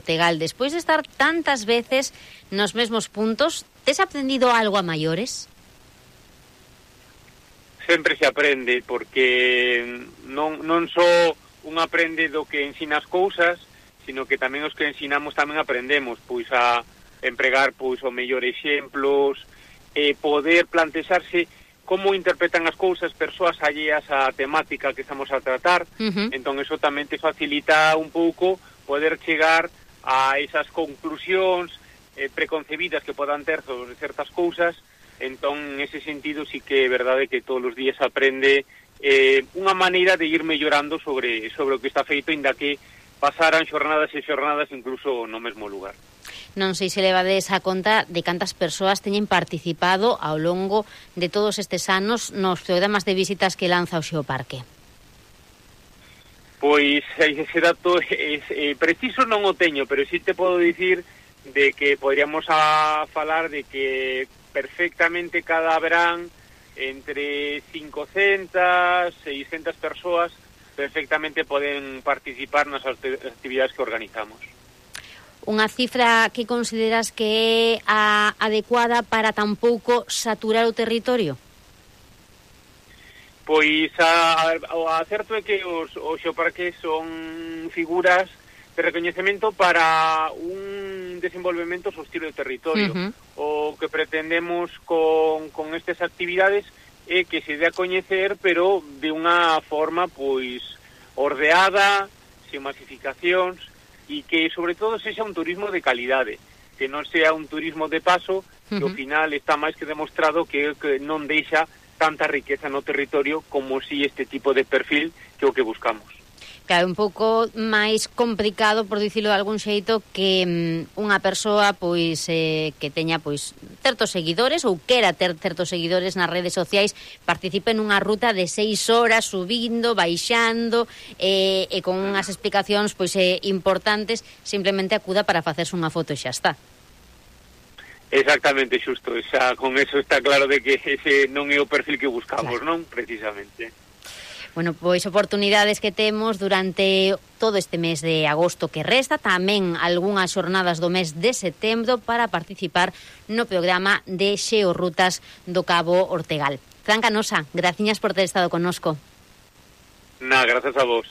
Ortegal, despois de estar tantas veces nos mesmos puntos, tes aprendido algo a maiores? Sempre se aprende, porque non só un aprende do que ensina as cousas, sino que tamén os que ensinamos tamén aprendemos, pois a empregar pois o mellor exemplos, poder plantexarse como interpretan as cousas persoas alleas á temática que estamos a tratar. Entón eso tamén te facilita un pouco poder chegar a esas conclusións preconcebidas que podan ter sobre certas cousas. Entón, en ese sentido, sí que é verdade que todos os días aprende unha maneira de ir mellorando sobre o que está feito, inda que pasaran xornadas e xornadas incluso no mesmo lugar. Non sei se levades a conta de cantas persoas teñen participado ao longo de todos estes anos nos programas de visitas que lanza o Xeoparque. Pois ese dato preciso non o teño, pero sí te podo dicir de que podríamos falar de que perfectamente cada verán entre 500, 600 persoas perfectamente poden participar nas actividades que organizamos. Unha cifra que consideras que é a adecuada para tampouco saturar o territorio? Pois o acerto é que os xeoparques son figuras de recoñecemento para un desenvolvemento sostido do territorio. O que pretendemos con estas actividades é que se dé a coñecer, pero de unha forma pois ordeada, sen masificacións, e que sobre todo sexa un turismo de calidade, que non sea un turismo de paso, que ao final está máis que demostrado que non deixa tanta riqueza no territorio como si este tipo de perfil que é o que buscamos. Claro, un pouco máis complicado, por dicilo de algún xeito, que unha persoa pois que teña pois certos seguidores ou quera ter certos seguidores nas redes sociais, participe nunha ruta de 6 horas subindo, baixando e con unhas explicacións pois importantes, simplemente acuda para facerse unha foto e xa está. Exactamente, xusto, xa con eso está claro de que ese non é o perfil que buscamos, claro. Non? Precisamente. Bueno, pois oportunidades que temos durante todo este mes de agosto que resta, tamén algunhas xornadas do mes de setembro para participar no programa de Xeorrutas do Cabo Ortegal. Fran Canosa, graciñas por ter estado connosco. Gracias a vos.